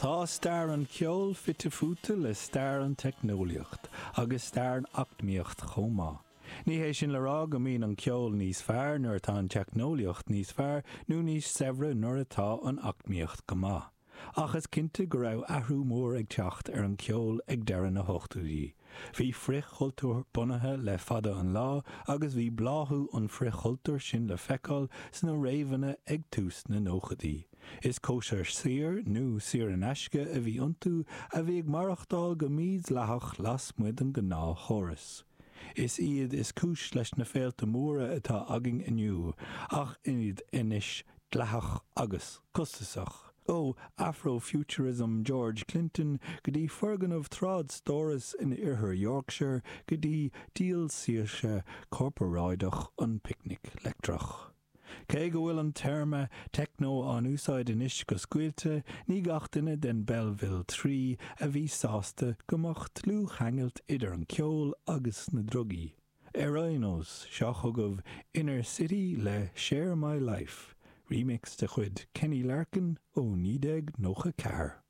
Tá stair an cheoil fite fuaite le stair an teicneolaíocht, agus stair an eacnamaíocht chomh maith. Ní hé sin le rá go mbíonn an ceol níos fearr nuair atá an teicneolaíocht níos fearr nó níos saibhre nuair atá an eacnamaíocht go maith. Ach is cinnte go raibh athrú mór ag teacht ar an cheol ag deireadh na hochtóidí. Bhí frithchultúr bunaithe le fada an lá agus bhí bláthú an frithchultúir sin le feiceáil sna réabhanna ag tús na nóchaidí. Is cóisir saor nó saor in aisce a bhí iontu a bhí ag maireachtáil go mídhleathach lasmuigh den ghnáthchóras. Is iad is cúis leis na féilte móra atá againn inniu, ach iad anois dleathach agus costasach. Ó Afrofuturism George Clinton go dtí foirgneamh trádstórais in oirthear Yorkshire go dtí díol saoirse corparáideach an Picnic Leictreach. Cé go bhfuil an téarma techno á úsáid anois go scaoilte, ní gach duine den Belleville 3 a bhí sásta go mbeadh dlúthcheangal idir an ceol agus na drugaí. Ar aon nós, seo chugaibh Inner City le Share My Life, remix de chuid Kenny Larkin ó 1994.